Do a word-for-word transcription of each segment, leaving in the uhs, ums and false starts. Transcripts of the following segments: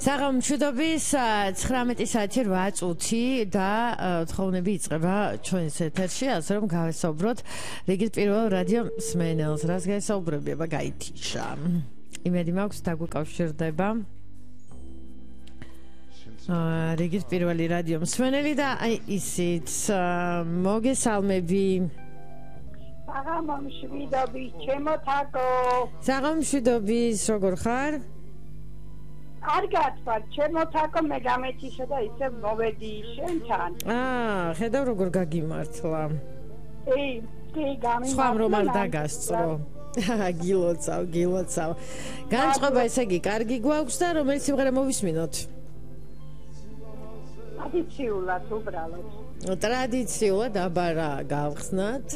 საღამო მშვიდობის ცხრამეტი საათი რვა წუთი და თხოვნები იწყება ჩვენს ეთერში, ასე რომ გავესაუბროთ რიგით პირველ რადიო მსმენელს, რაც გაესაუბრება გაითიშა. იმედი მაქვს დაგვიკავშირდება რიგით პირველი რადიო მსმენელი და აი ისიც მოგესალმები. საღამო მშვიდობის, ჩემო თაკო. საღამო მშვიდობის, როგორ ხარ? კარგად ვარ, ჩემო თაკო, მე გამეთიშა და ისე მოვედი შენთან. აა, ხედავ როგორ გაგიმართლა. ე, კი, გამიმართლა. სხვა რომ არ დაგასწრო. გილოცავ, გილოცავ. განწყობა ესე იგი, კარგი გვაქვს და რომელიც სიმღერა მოვისმინოთ? ტრადიციულად უბრალოდ. ტრადიციულად აბარა გავხსნათ.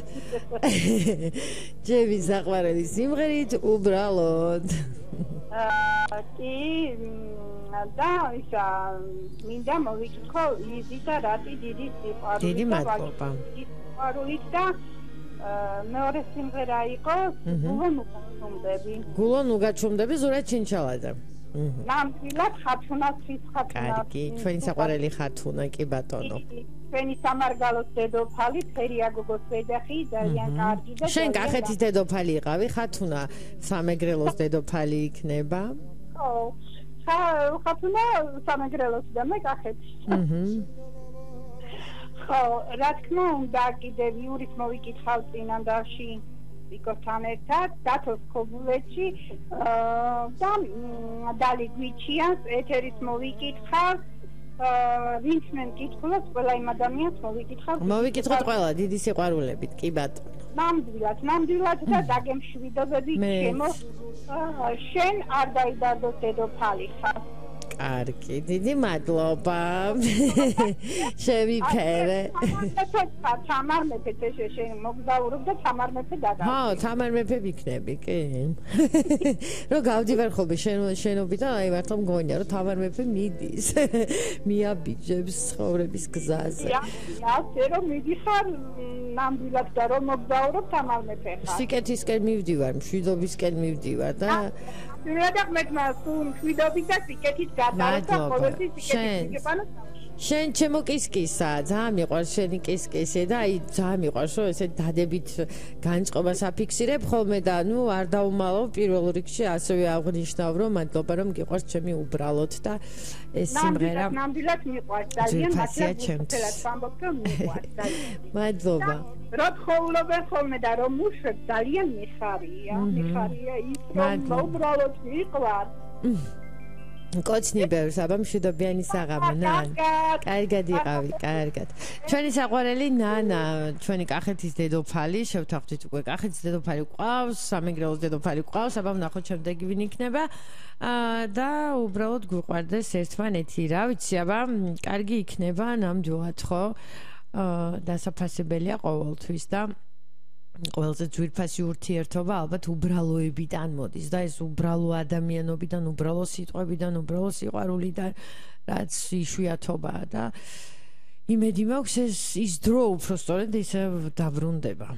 ჯემი საყვარელი სიმღერით უბრალოდ. აა, კი, და ისა მინდა მოვიკითხო იზი და რატი დიდი სიყვარული. დიდი მადლობა. სიყვარულით და მეორე სიმღერა იყო გულონ უგაჩუმდები. გულონ უგაჩუმდები ზურა ჩინჩალაძე. ნამდვილად ხათუნას ის ხათუნა. კარგი, ჩვენი საყვარელი ხათუნა, კი ბატონო. ჩვენი სამარგალოს დედოფალი, ფერია გოგოს ვეძახი, ძალიან კარგი და შენ კახეთის დედოფალი იყავი, ხათუნა სამეგრელოს დედოფალი იქნება? ხო. ხათუნა სამეგრელოს და მე კახეთის. აჰა. ხო, რა თქმა უნდა, კიდევ იურის მოვიკითხავ წინანდალში ვიკოსთან ერთად, დათოს ქობულეთში და დალი გვიჩიანს ეთერის მოვიკითხავ. ვინც მე მკითხულობს, ყველა იმ ადამიანს მოვიკითხავ. მოვიკითხოთ ყველა, დიდი სიყვარულებით, კი ბატონო. ნამდვილად, ნამდვილად და დაგემშვიდობები ჩემო. შენ არ დაიდარდოს დედოფალი ხარ. კარგი, დიდი მადლობა. შევიფერე. თამარ მეფე შენ მოგზაურობ და თამარ მეფე დადა. ხო, თამარ მეფე ვიქნები, კი. რო გავდივარ ხოლმე შენობიდან, აი მართლა მგონია, რომ თამარ მეფე მიდის. მიაბიჯებს ცხოვრების გზაზე. ასე რომ მიდიხარ ნამდვილად და რომ მოგზაურობ თამარ მეფე ხარ. სიკეთისკენ მივდივარ, მშვიდობისკენ მივდივარ და მშვიდობად მშვიდობის და სიკეთის გადაარდა ყოველთვის სიკეთის გეპანა. შენ ჩემო კისკისა, ძალიან მიყვარს შენი კისკისი და აი ძალიან მიყვარს რომ ესე დადებით განწყობას აფიქსირებ ხოლმე და ნუ არ დაუმალავ პირველ რიგში ასევე აღნიშნავ რომ მადლობა რომ გიყვარს ჩემი უბრალოდ და ეს სიმღერა ნამდვილად მიყვარს ძალიან მადლობა ჩემთვის ვამბობ რომ მიყვარს ძალიან მადლობა რო ხოვლობენ ხოლმე და რომ მუშებ ძალიან მიხარია მიხარია ის რომ უბრალოდ მიყვარს კოცნიბერს აბა მშვიდობიანი საღამო ნანა. კარგად იყავი, კარგად. ჩვენი საყვარელი ნანა, ჩვენი კახეთის დედოფალი, შევთანხმდით უკვე კახეთის დედოფალი ყავს, სამეგრელოს დედოფალი ყავს, აბა ვნახოთ შემდეგი ვინ იქნება. და უბრალოდ გვიყვარდეს ერთმანეთი, რა ვიცი, აბა კარგი იქნება ნამდვილად ხო? დასაფასებელია ყოველთვის და ყველაზე ძვირფასი ურთიერთობა ალბათ უბრალოებიდან მოდის და ეს უბრალო ადამიანობიდან, უბრალო სიტყვებიდან, უბრალო სიყვარულიდან, რაც იშვიათობაა და იმედი მაქვს ეს ის დრო უფრო სწორედ ისე დაბრუნდება.